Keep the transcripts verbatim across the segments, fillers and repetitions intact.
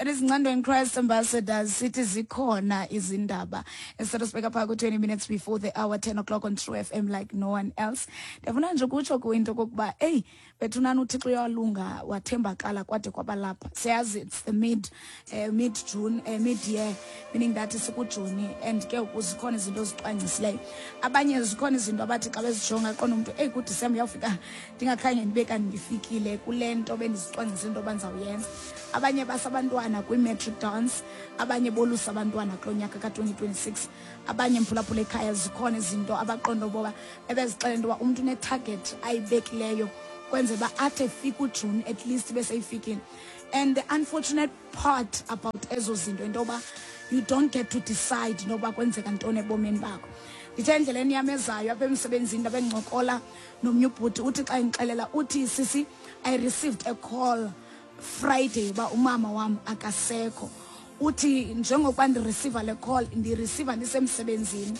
That is Ncando and Christ Ambassadors. Sithi zikhona izindaba. Instead of sibeka phaa ku-twenty minutes before the hour, ten o'clock on True F M like no one else. Ndiyafuna nje ukutsho kwinto kokuba, eyi, bethunani, uThixo uyalunga, wathembakala kwade kwabalapha. Siyazi it's the mid, uh, mid June, uh, mid year, meaning that sikuJuni, and ke zikhona izinto ozicwangcisileyo. Abanye zikhona izinto abathi xa bezijonga qonda umntu, eyi, kuDisemba uyawufika ndingakhange ndibe kanti ndifikile kule nto bendizicwangcisa into yoba ndizawuyenza. Abanye basabantwana kwi-matric dance, abanye bolusa abantwana kulo nyaka ka-twenty twenty-six. Abanye, mphulaphula ekhaya, zikhona izinto abaqonda uboba ebezixela into yoba umntu une-target ayibekileyo kwenzela uba athi efika uJuni at least beseyifikile. And the unfortunate part about ezo zinto into yoba you don't get to decide noba kwenzeka ntoni ebomini bakho. Ndithe endleleni yam ezayo apha emsebenzini, ndabe ndincokola nomnye ubhuti. Uthi xa endixelela, uthi, "Sisi, I received a call Friday uba umama wam akasekho." Uthi njengokuba ndi-receiva le call, ndi-receiva ndisemsebenzini,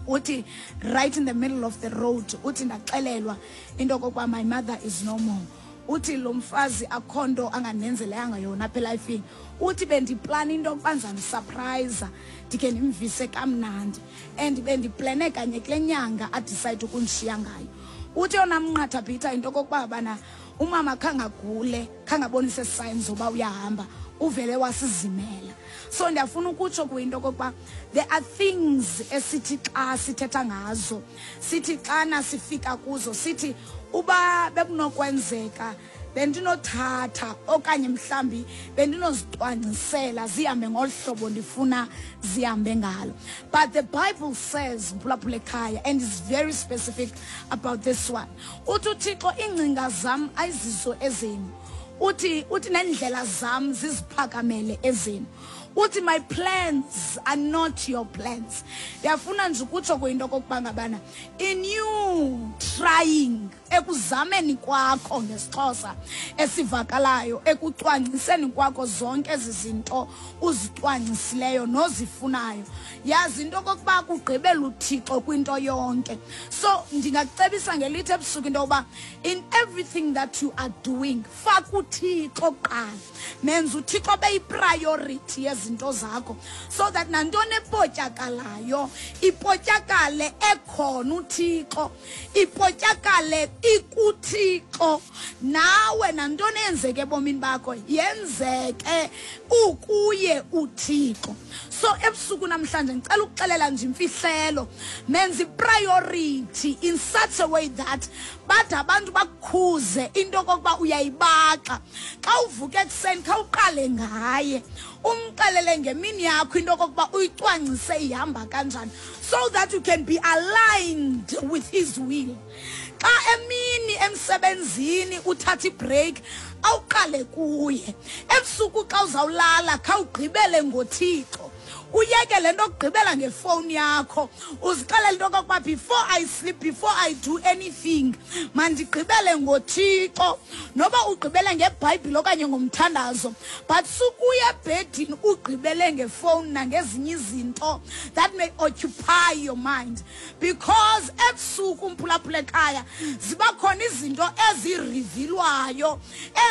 uthi right in the middle of the road, uthi ndaxelelwa into okokuba my mother is no more. Uthi lo mfazi akho nto angandenzeleyanga yona apha elifini. Uthi bendiplana into yokuba ndizam-surprise, ndikhe ndimvise kamnandi, and bendiplane kanye kule nyanga a-decide ukundishiya ngayo. Uthi yona mnqatha bhitha into okokuba bana umama khangagule, khangabonise signs zoba uyahamba, uvele wasizimela. So ndiyafuna ukutsho kuyinto okokuba there are things esithi xa sithetha ngazo, sithi xana sifika kuzo, sithi uba bekunokwenzeka bendinothatha okanye mhlambi bendinozicwangcisela zihambe ngolu hlobo ndifuna zihambe ngalo. But the Bible says, mphulaphula ekhaya, and is very specific about this one, uthi uThixo, "Iingcinga zam ayizizo ezenu." uthi uthi nendlela zam ziziphakamele ezenu. Uthi, "My plans are not your plans." Ndiyafuna nje ukutsho kuyinto okokuba ngabana in you trying, ekuzameni kwakho, ngesiXhosa esivakalayo, ekucwangciseni kwakho zonke ezi zinto uzicwangcisileyo nozifunayo, yazi into okokuba kugqibela uThixo kwinto yonke. So ndingakucebisa ngelithi ebusuku into yokuba in everything that you are doing, faka uThixo kuqala. Menza uThixo beyi-priority yezinto zakho so that nantoni epotyakalayo ipotyakale ekhona uThixo, ipotyakale ikuThixo nawe. Nantoni eyenzeke ebomini bakho yenzeke ukuye uThixo. So ebusuku namhlanje ngicela ukuxelela nje imfihlelo: menza i-priority in such a way that bade abantu bakukhuze into okokuba uyayibaxa. Xa uvuka ekuseni, khawuqale ngaye, umxelele ngemini yakho into okokuba uyicwangcise ihamba kanjani so that you can be aligned with his will. Xa emini emsebenzini uthatha i-break, awuqale kuye. Ebusuku xa uzawulala, khawugqibele ngoThixo, uyeke le nto okugqibela ngefowuni yakho. Uzixelele into okokuba before I sleep, before I do anything, mandigqibele ngoThixo, noba ugqibele ngeBhayibhile okanye ngomthandazo, but sukuya ebhedini ugqibele ngefowuni nangezinye izinto that may occupy your mind, because ebusuku, umphulaphula ekhaya, ziba khona izinto ezi-revealwayo,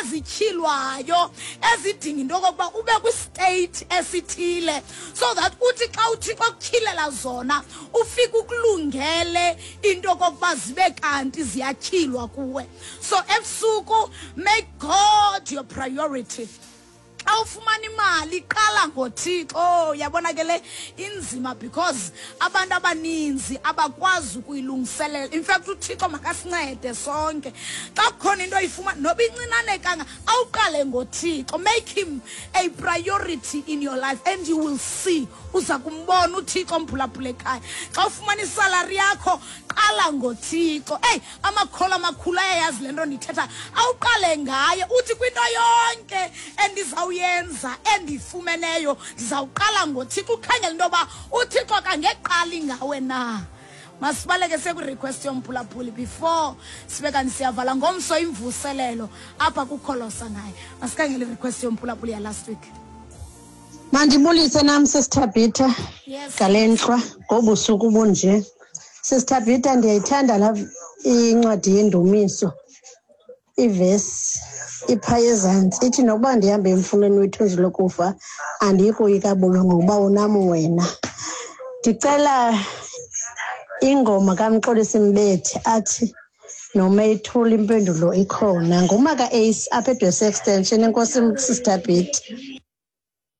ezityhilwayo, ezidinga into okokuba ube kwi-state esithile so that uthi xa uThixo akutyhilela zona, ufike ukulungele into okokuba zibe kanti ziyatyhilwa kuwe. So ebusuku, make God your priority. Xa ufumana imali, qala ngoThixo. Oh, yabona ke, le inzima because abantu abaninzi abakwazi ukuyilungiselela. In fact, uThixo makasincede sonke. Xa kukhona into oyifumana, noba incinane kanga, awuqale ngoThixo. Make him a priority in your life and you will see, uza kumbona uThixo, mphulaphula ekhaya. Xa ufumana i-salary yakho, qala ngoThixo. Eyi, amakholo amakhulu ayayazi le nto ndithetha. Awuqale ngaye, uthi kwinto yonke endizawuyenza endiyifumeneyo, ndizawuqala ngoThixo. Ukhangela into yoba uThixo akangeqali ngawe na. Masibaleke sekwi-request yomphulaphuli before sibe kanti siyavala. Ngomso imvuselelo apha kukholosa ngaye. Masikhangele i-request yomphulaphuli ya last week. Mandibulise nam, Sisithabhitha, Yes. ngale ntlwa, ngobusuku bunje. Sisithabhitha, ndiyayithanda la incwadi yeNdumiso, ivesi Ipha ezantsi ithi, nokuba ndihamba emfuleni wethunzi lokufa, andiyi koyika bubi, ngokuba unam wena. Ndicela ingoma kaMxolisi Mbethe athi noma ithula impendulo ikhona. Ngumaka Ace apha eDwesi Extension. Enkosi, Sister Bit.